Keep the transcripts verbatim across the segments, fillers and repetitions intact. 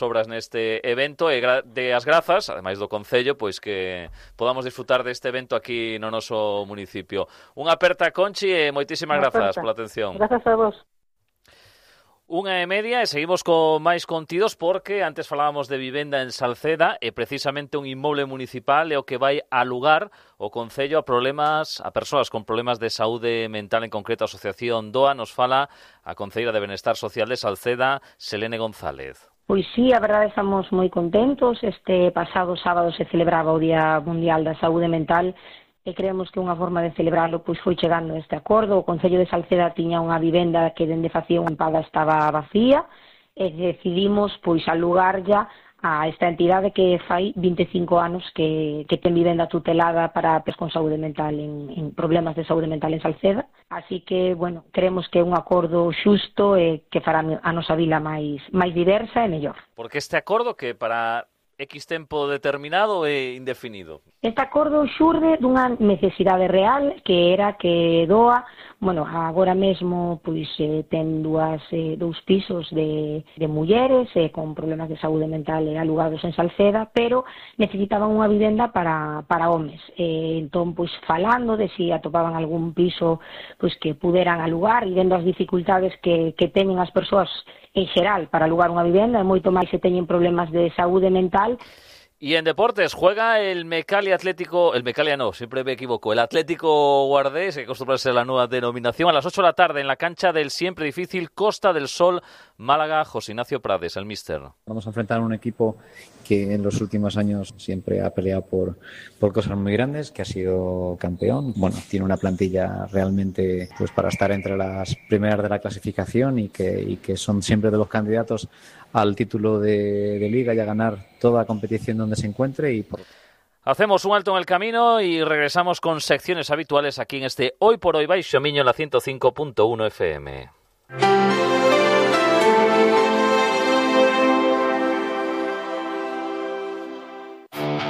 obras neste evento e gra- de as grazas, ademais do Concello, pois que podamos disfrutar deste evento aquí no noso municipio. Unha aperta, Conchi, e moitísimas grazas pola atención. Grazas a vos. Unha e media e seguimos con máis contidos porque antes falábamos de vivenda en Salceda e precisamente un inmoble municipal é o que vai alugar o Concello a problemas a persoas con problemas de saúde mental, en concreto a Asociación D O A. Nos fala a Concelleira de Benestar Social de Salceda, Selene González. Pois sí, a verdade estamos moi contentos. Este pasado sábado se celebraba o Día Mundial da Saúde Mental e creemos que unha forma de celebrarlo pois foi chegando a este acordo. O Concello de Salceda tiña unha vivenda que dende facía unha tempada estaba vacía e decidimos pois alugarlla a esta entidade que fai vinte e cinco anos que, que ten vivenda tutelada para persoas con saúde mental en, en problemas de saúde mental en Salceda. Así que, bueno, creemos que é un acordo xusto e que fará a nosa vila máis, máis diversa e mellor. Porque este acordo que para X tempo determinado e indefinido? Este acordo xurde dunha necesidade real que era que D O A, bueno, agora mesmo pois eh, ten dúas, eh, dous pisos de, de mulleres eh, con problemas de saúde mental eh, alugados en Salceda, pero necesitaban unha vivenda para, para homes. Eh, entón, pois falando de si atopaban algún piso pois que puderan alugar e vendo as dificultades que, que teñen as persoas en xeral para alugar unha vivenda, e moito máis se teñen problemas de saúde mental. Y en deportes juega el Mecalia Atlético, el Mecalia no, siempre me equivoco, el Atlético Guardés, que acostumbra a ser la nueva denominación, a las ocho de la tarde en la cancha del siempre difícil Costa del Sol, Málaga. José Ignacio Prades, el míster. Vamos a enfrentar a un equipo que en los últimos años siempre ha peleado por, por cosas muy grandes, que ha sido campeón. Bueno, tiene una plantilla realmente pues para estar entre las primeras de la clasificación y que, y que son siempre de los candidatos al título de, de Liga y a ganar toda competición donde se encuentre. Y por... Hacemos un alto en el camino y regresamos con secciones habituales aquí en este Hoy por Hoy Baixo Miño en la ciento cinco punto uno F M.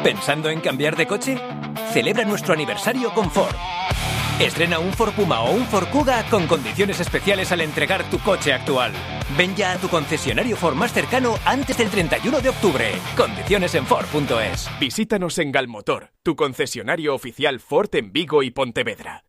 ¿Pensando en cambiar de coche? Celebra nuestro aniversario con Ford. Estrena un Ford Puma o un Ford Kuga con condiciones especiales al entregar tu coche actual. Ven ya a tu concesionario Ford más cercano antes del treinta y uno de octubre. Condiciones en Ford punto es. Visítanos en Galmotor, tu concesionario oficial Ford en Vigo y Pontevedra.